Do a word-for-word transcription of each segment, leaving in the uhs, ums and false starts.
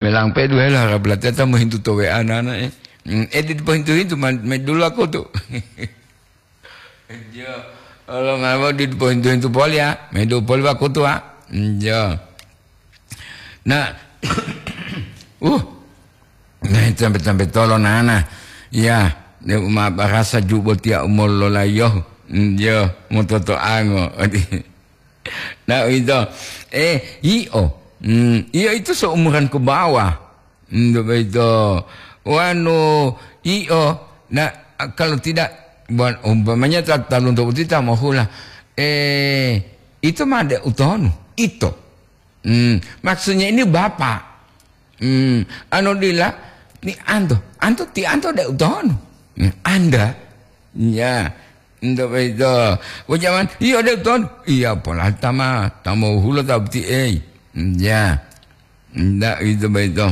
Melang pedu hela harap lateta mohintu to W A nana, eh. Hmm, eh, dipohintu-hintu man-, medulu aku tu. Jo, olo mabo dipohintu-hintu poli ya, medu poli aku tu, ah. Jo. Nah, uh, nah, sampai-sampai tolo nana. Ya, dia uma barasa jubo tia umur lolayo. Jo, mototo ango. Nah, itu. Eh, iyo. Hmm, iyo itu seumuran ke bawah. Hmm, begitu. Wanu, iyo. Nah, kalau tidak, buat umpamanya ta-, talunto uti ta mohula. Eh, itu mah de utonu. Ito. Hmm, maksudnya ini bapak. Hmm, anu dila, ni anto. Anto, ti anto de utonu. Hmm, anda. Ya. Ndak begitu. Ucapan, "Iya, dek, Ton." Iya, pola tama, tama hula ta boti, eh. Ya. Ndak itu begitu.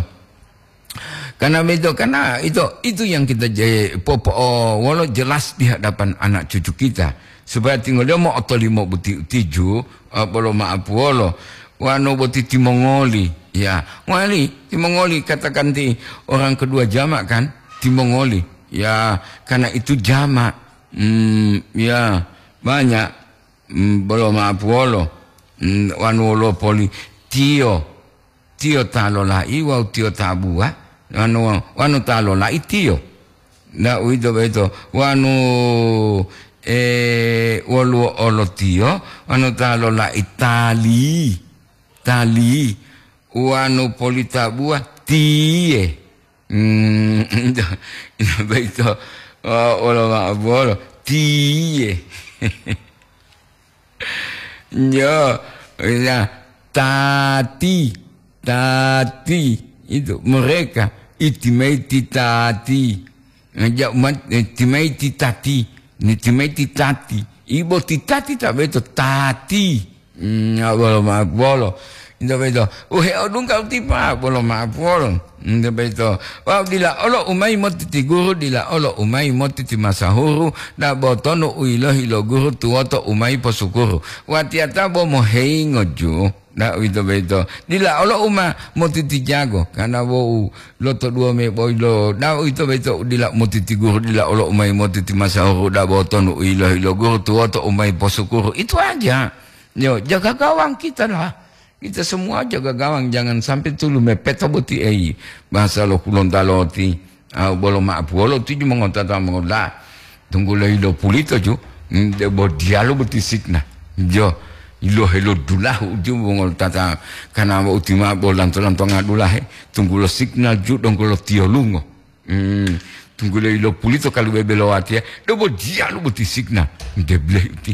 Karena begitu, karena itu, itu yang kita je-, popo-, oh, wolo jelas di hadapan anak cucu kita. Supaya tinggal dia mau otolimo boti utiju, eh, bolo maaf wolo. Wano boti timongoli. Ya, wali, timongoli katakan ti orang kedua jamak kan? Timongoli. Ya, karena itu jamak. Hmm, ya, banyak. Hmm, bolo maaf wolo. Hmm, wanu wolo poli. Tiyo. Tiyo ta lola'i wawu tiyo ta buwa. Wanu, wanu ta lola'i tiyo. Nda uwito boyito. Wanu, eh, woluwo olo tiyo. Wanu ta lola'i tali. Tali. Wanu poli ta buwa tiye. Hmm, boyito. Oh, wolo maaf wolo. Tiye. Yo, ya, tati, tati, itu mereka, itimaiti tati. Ngajak umat, eh, timaiti tati, ni timaiti tati. Ibo ti tati ta beto tati. Hmm, ya, bolo maaf bolo. Itu beto. Uhe odungka utipa, bolo maaf bolo. Nde boyito. Wawu dila olo u mayi moti ti guru, dila olo u mayi moti ti masahuru, dabo tonu u yilohi lo guru tuwoto u mayi posukuru. Watiyata bo moheyingo ju, nda uwito boyito. Dila olo u ma moti ti jago, karena bo u lotoduwo me boyilo, nda uwito boyito dila moti ti guru, dila olo u mayi moti ti masahuru, dabo tonu u yilohi lo guru tuwoto u mayi posukuru. Itu aja. Yo, jaga gawang kita lah. Kita semua jaga gawang, jangan sampai tulu mepeta boti ei. Bahasa lo Kulontaloti, ah, bolo maaf wolo tuju mongotata mongola. Tunggulo ilo pulito ju, mm, de bo dialo boti signa. Jo, ilo helo dulahu ju mongotata. Karena utima bo lanto-lanto ngadulahe, tunggulo signal ju donggo lo tiolungo. Hmm, tunggulo ilo pulito kalu bebe lo watiya, dobo diyalu boti signa. Debleh uti.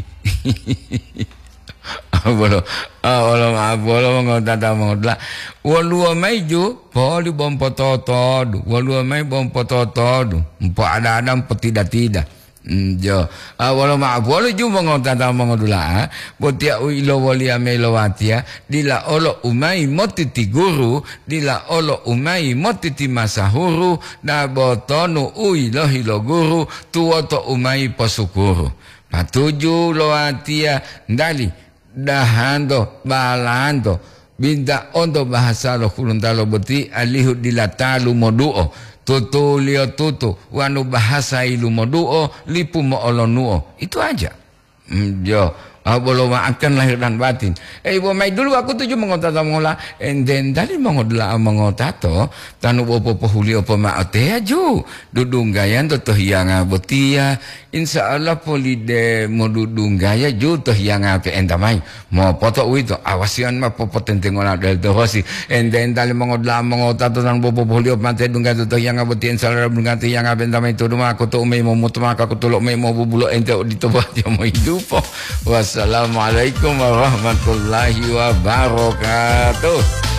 Bolo, ah, bolo, ah, bolo mongotata mongotla. Woluwo mayi ju, poli bompototodu. Woluwo mayi bompototodu. Mpo ada-ada mpotida-tida. Hmm, jo. Ah, wolo maaf, wolo ju mongotata mongodula'a, botiya u ilowoliya mayi lo watiya, dila olo u mayi moti ti guru, dila olo u mayi moti ti masahuru, dabo tonu u yilohi lo guru, tuwoto u mayi posukuru. Patuju lo watiya, ndali, dahanto, balanto, binta onto bahasa lo Hulontalo boti alihu dila ta lumoduo, tutuliyo tutu, wanu bahasa yilumoduo, lipu mo'olonuo. Itu aja. Mm, jo, ah, bolo maafkan lahir dan batin. Eh, ibo mayi dulu aku tuju mongotata mongola, enten tali mongodula'a mongotato, tanu bo popohuliyo pomao teya ju, dudunggayanto to hiyanga botiya, Insya Allah polide modudunggaya ju to hiyanga pe'enta mayi. Mopoto uwito, awasiyan ma popotentengola del to hosi. Ente-enta limongodula'a mongotato tan bobopoliyo mate dungga to hiyanga boti, insya Allah dungga to hiyanga pe'enta mayi to duma koto umayi momutu maka kotulo umayi mobubulo ente odito botiya mohidupo. Wassalamualaikum warahmatullahi wabarakatuh.